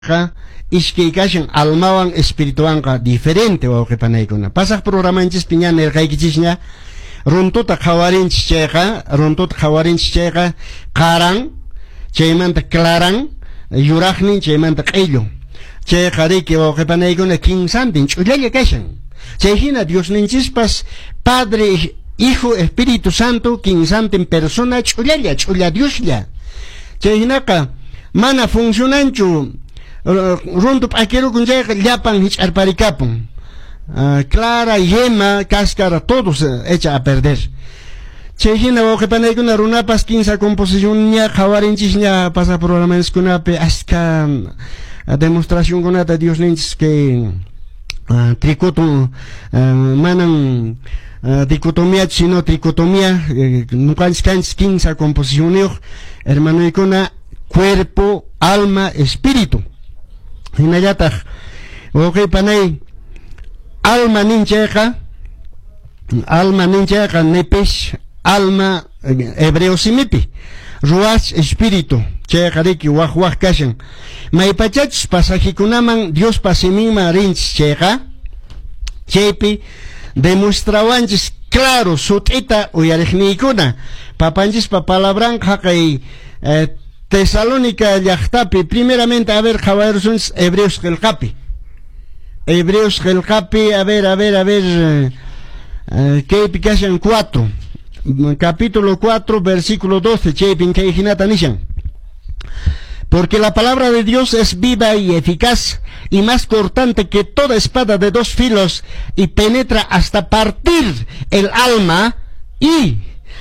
Qa iskay kashan almawan espirituwanqa diferente, wawqe panaykuna. Pasaq programanchispi ña nirqaykichisña, runtuta qhawarinchis chayqa, runtuta qhawarinchis chayqa, qaran, chaymanta claran, yuraqnin, chaymanta q'illu. Chayqa riki, wawqe panaykuna, kinsantin ch'ullalla kashan. Chay hina Diosninchispas Padre, Hijo, Espíritu Santo, kinsantin persona ch'ullalla, ch'ulla Dioslla. Chay hinaqa mana funcionanchu, runtu p'akirukun chayqa llapan hich'arparikapun. Clara, yema, cáscara, todo se echa a perder. Chay hina, wawqe panaykuna, runapas kinsa composicionña qhawarinchisña pasaq programakunapi askha demostracionkunata Diosninchis kay tricoto manan dicotomía sino tricotomía, ñuqanchis kanchis kinsa composicionniyuq, hermanoykuna, cuerpo, alma, espíritu. Hinallataq, wawqe panay, alma ninchayqa, alma ninchayqa nepesh, alma hebreo simipi, ruach espíritu, chayqa riki waq waq kashan. Maypachachus pasajikunaman Diospa siminman rinchis chayqa, chaypi demostrawanchis claro sut'ita, uyariqniykuna, papanchispa palabran haqay Tesalónica llaqtapi. Primeramente, a ver, qhawarusunchis Hebreos qillqapi. Hebreos qillqapi, a ver, a ver, a ver, kaypi kashan 4, capítulo 4, versículo 12, chaypin kay hinata nishan: "Porque la palabra de Dios es viva y eficaz y más cortante que toda espada de dos filos y penetra hasta partir el alma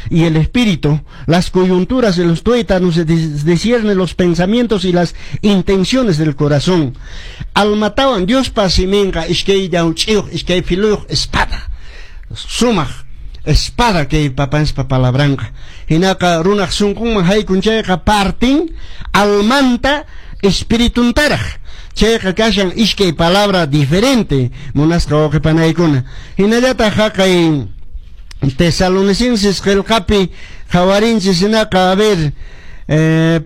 y el espíritu, las coyunturas de los tuétanos, discierne los pensamientos y las intenciones del corazón". Almatawan Diospa siminqa iskay llawch'iyuq, iskay filuyuq espada. Sumaq espada kay papanspa palabranqa. Hinaqa runaq sunqunman haykun chayqa partin almanta espirituntaraq. Chayqa kashan iskay palabra diferente, munasqa wawqi panaykuna. Hinallataq haqay Tesalonicenses qillqapi qhawarinchis hinaqa, a ver,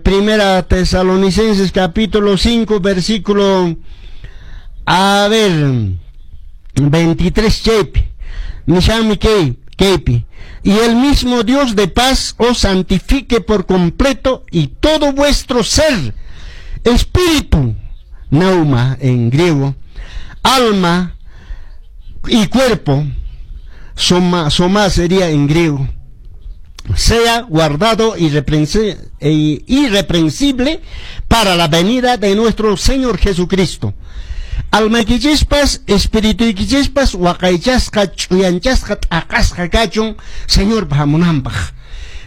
Primera Tesalonicenses capítulo 5 versículo, a ver, 23, chaypi nishanmi kay kaypi: "Y el mismo Dios de paz os santifique por completo y todo vuestro ser, espíritu, pneuma en griego, alma y cuerpo, soma, soma sería en griego, sea guardado irreprensible para la venida de nuestro Señor Jesucristo". Almaykichispas, espirituyquichispas waqaychasqa, ch'uyanchasqa, t'aqasqa kachun Señorpa hamunanpaq.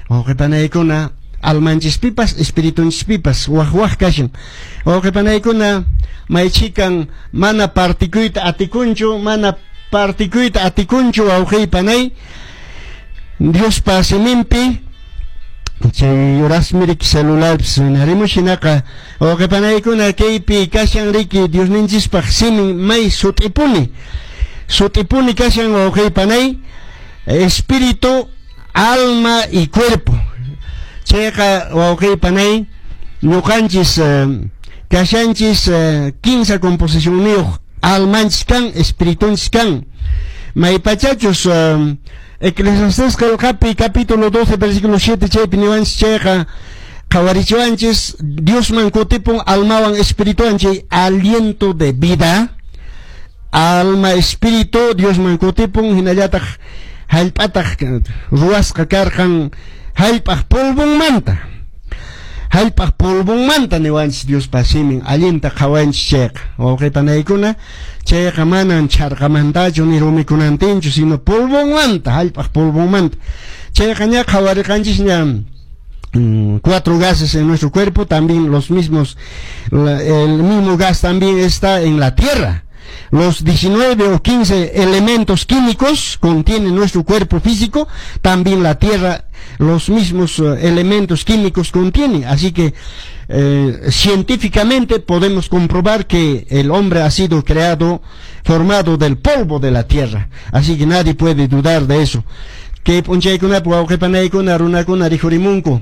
Wawqipanaykuna, almanchispipas, espiritunchispipas waq waq kashan. Wawqipanaykuna, maychikan mana partikuyta atikunchu, mana partikuyta atikunchu, wawqipanay, Diospa siminpi. Chay horasmi riki celularpis rinarimush. Hinaqa, wawqipanaykuna, kaypi kashan riki Diosninchispaq simin may sut'ipuni, sut'ipuni kashan, wawqipanay, espíritu, alma y cuerpo. Chayqa, wawqipanay, ñuqanchis kashanchis kinsa composicionniyuq, almanchis kan, espiritunchis kan. Maypachachus Eclesiastés qillqapi capítulo 12 versículo 7 chaypi niwanchis chayqa qhawarichiwanchis Diosman kutipun almawan espirituwan, chay aliento de vida, alma, espíritu Diosman kutipun. Hinallataq hallp'ataq ruwasqa karqan hallp'aq polvonmanta, hallp'aq polvonmanta niwanchis Diospa simin allinta qhawanchis chayqa, wawqipanaykuna. Chayqa manan chharqamantachu ni rumikunantinchu, sino polvonmanta, hallp'aq polvonmanta. Chayqa ña qhawariqanchis ña cuatro gases en nuestro cuerpo, también los mismos, el mismo gas también está en la tierra. Los 19 o 15 elementos químicos contiene nuestro cuerpo físico, también la tierra los mismos elementos químicos contiene. Así que científicamente podemos comprobar que el hombre ha sido creado, formado del polvo de la tierra. Así que nadie puede dudar de eso. Kay p'unchaykunapi, wawqipanaykuna, runakuna rikhurimunku,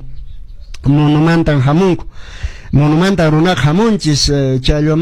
monomantan hamunku. Munumanta runaqa hamunchis, challwa.